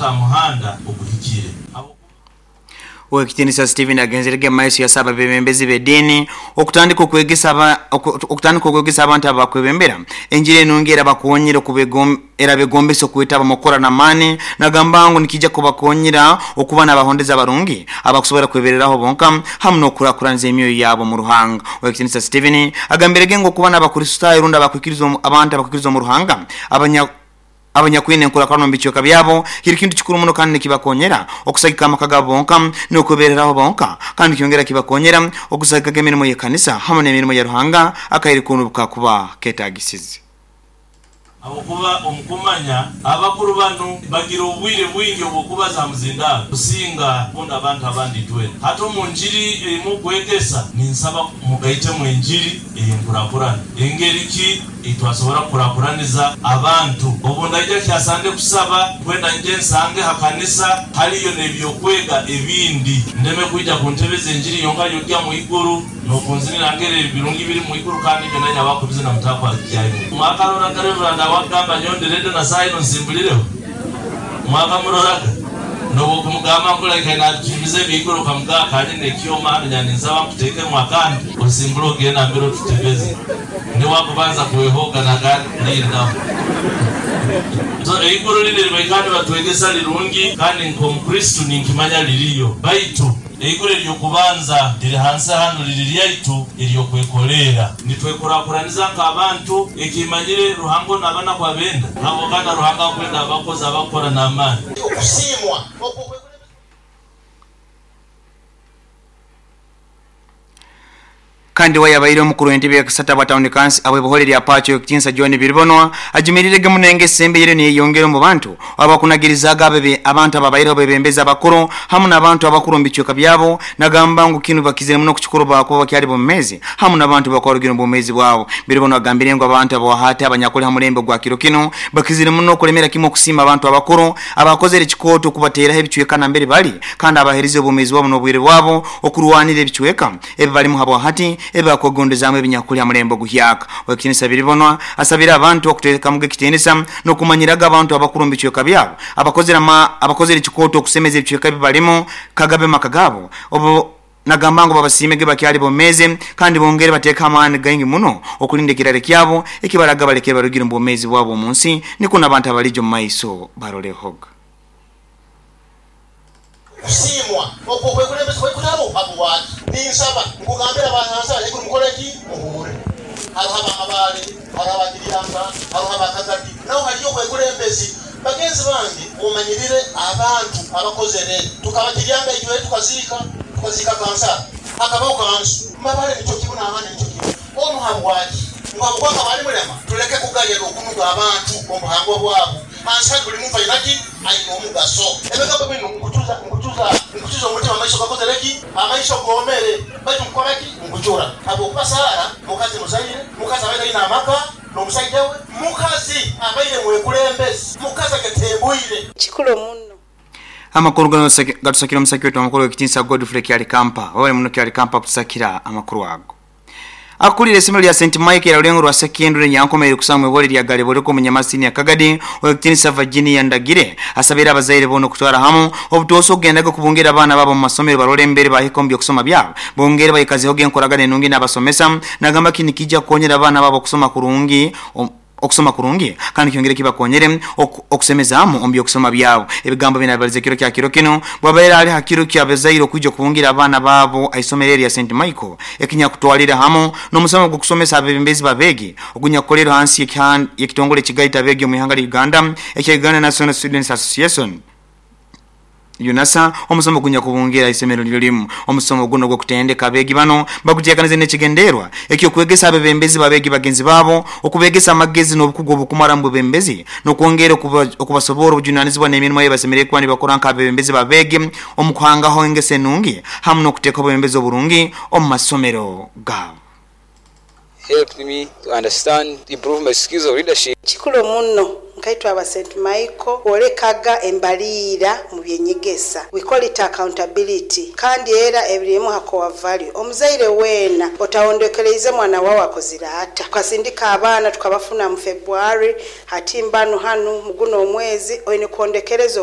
okuta ha muhanda oguhikire. Owekitinisa Stephen agenzerege maiso yasaba abebembezi b'ediini okutandika okwegesa abantu abakwebembera enjiri enungi era bakonyera era begombesa okwetaba mukukora n'amaani, nagamba ngu nikija kubakonyera okuba n'abahondezi abarungi abakusobora kwebereraho bonka hamu n'okukurakuraniza emyoyo yabo mu Ruhanga. Owekitinisa Stephen agambirege ngu okuba n'Abakristaayo rundi abakwikiriza abantu abakwikiriza omu Ruhanga abanyakwine enkurakurana omu bicweka byabo kiri kintu kikuru muno kandi nikibakonyera okusagika amaka gabo bonka n'okwebereraho bonka, kandi kyongera kibakonyera okusagikaga emirimo y'ekanisa hamu n'emirimo ya Ruhanga akaire koona obukakuba ketagisize. Habwokuba omukumanya abakuru banu bagira obwire bwingi obw'okubaza ha muzindaaro kusinga kundi abantu abandi itwena. Hati omu njiri ei mukwegesa ninsaba mugaitemu enjiri ey'enkurakurana. Engeri ki ei twasobora kukurakuraniza abantu? Obu ndaija kyasande kusaba, kwenda nyije nsange ha kanisa haliyo n'ebyokwega ebindi. Ndeme kwija kuntebeza enjiri yonka y'okugya mu iguru n'okunzinira ngeri ebirungi biri mu iguru kandi ibyo nanye abakubizina mutakwagyayo. Mwakaroraga Reverand awakugamba nyowe ndi ready na saaha enu nsimbulireho? Mwakamuroraga? N'obwokumugamba nkulaika natunyumiza eby'iguru okamugamba kanyine ekyoma hanu nya ninsaba nkuteekemu akandi osimbule ogende nambere otutebeze. Niwe akubanza kwehoga nagamba lindaho. So eiguru linu eribaikara nibatwegesa lirungi kandi nk'Omukristo ninkimanya liriyo, baitu eiguru ery'okubanza liri hansi hanu liri lyaitu ery'okwekoleera. Nitwekurakuraniza nk'abantu, ekimanyire Ruhanga onu aba nakwo abenda, habwokana Ruhanga akwenda abakozi abakukora n'amaani. Okusiimwa okwo kwekulembeza. Kandi we yabaire omukuru w'entebe y'akasatu abwa Town Council abw'ebohole lya Pacho Owekitinisa John Biribonwa ajumirirege muno engeso embi eyeriyo neyeyongera omu bantu abakunagirizaga abantu ababaireho abebembezi abakuru hamu n'abantu abakuru omu bicweka byabo, nagamba ngu kinu bakizire muno okukikora bakuba bakyali bomumezi hamu n'abantu bakwarugire omu bwomezi bwabo. Biribonwa agambire ngu abantu abawahati abanyakuli ha mulembe ogwa kiro kinu bakizire muno okulemera kimu okusiima abantu abakuru abakozere ekikooto okubateraho ebicweka nambere bali kandi abaherize obwomezi bwabo n'obwire bwabo okurwanira ebicweka ebi balimu habwahati ebi bakwegondezaamu ebinyakuli ha mulembe oguhyaka. Owekitinisa Biribonwa asabire abantu okuteekamuga ekitinisa n'okumanyiraga abantu abakuru omu bicweka byabo abakozere ekikooto okusemeza ebicweka ebi balimu kagabe maka gaabo obu nagamba ngu babasiimege bakyali bomeezi kandi bongere bateeke amaani gaingi muno okulinda ekirare kyabo ekibaraga balekere barugire omu bwomeezi bwabo omu nsi nikwo n'abantu abalija omu maiso barolehoga. Okusiimwa okwo okwekulembeza kwekutabo habwaki? Ninsaba nkugambire abahansi ahaiguru mukole ki? Muhuure. Haroho aba Mabaale, haroho aba Kiryanga, haroho aba Kagadi, naho haliyo obwekulembezi. Bagenzi bange mumanyirire abantu abakozere. Tukaba Kiryanga itwe tukaziika, tukaziika kansara, hakabaho kanso. Mabaale nikyo kimu n'ahandi nikyo kimu. Onu habwaki? Ngu habwokuba akaba ali mulema? Tuleke kugaya n'okunuga abantu omu buhangwa bwabo. Hansi hanu buli muntu aina ki? Aina omugaso. Ebigambo binu nkucuza, nkucuza, nkucuza omutima, amaiso gakozere ki? Amaiso goomere, baitu nkukora ki? Nkucura. Habwokuba Saara mukazi muzaire, mukazi abaire aine amaka n'omusaija we, mukazi abaire mwekulembezi, mukazi agetembuire. Kikuru muno. Amakuru gano gatusakira omusaki wetu amakuru ow'ekitinisa Godfrey Kyalikampa. Webale muno Kyalikampa kutusakira amakuru ago. Akulira isomero lya St Michael orulengo rwa Sekendure Nyankomaire kusanga mwihore lya Galeboreko omu Nyamasini ya Kagadi, Owekitinisa Virginia Ndagire asabire abazaire boona okutwara hamu obutoosa okugendaga okubungira abaana baabo omu masomero barole embere bahika omu by'okusoma byabo bongere baikazehoga enkoragana enungi n'abasomesa. Nagamba kinu nikija kukonyera abaana baabo okusoma kurungi okusoma kurungi kandi kyongere kibakonyere okusemezaamu omu by'okusoma byabo. Ebigambo binu abibalize kiro kya kiro kinu bwabaire ali ha kiro ky'abazaire okwija okubungira abaana baabo ha isomero erya Saint Michael ekinyakutwalire hamu n'omusomo gw'okusomesa abebembezi b'abeegi ogunyakukolerwa hansi y'ekitongole ekigaita abeegi omu ihanga lya Uganda ekya Uganda National Students Association, UNASA, omusomo ogunyakubungira isomero niryo limu. Omusomo guno ogw'okutendeka abeegi bano baguteekanize n'ekigenderwa eky'okwegesa abebembezi b'abeegi bagenzi baabo, okubeegesa amagezi n'obukugu obukumara omu bwebembezi n'okwongera okubasoborra obujunanizibwa n'emirimo ei basemeriire kuba nibakora nk'abebembezi b'abeegi omu kuhangaho engeso enungi hamu n'okuteekaho obwebembezi oburungi omu masomero gaabo. Helped me to understand, to improve my skills of leadership. Kikuru muno nkaitwe aba Saint Michael kwolekaga embaliira mu byenyegesa, we call it accountability, kandi era ebirimu ha core value. Omuzaire weena otahondekereize mwana wawe akozire ata? Tukasindika abaana tukabafuna mu February, hati mbanu hanu mu guno omwezi oine kuhondekereza.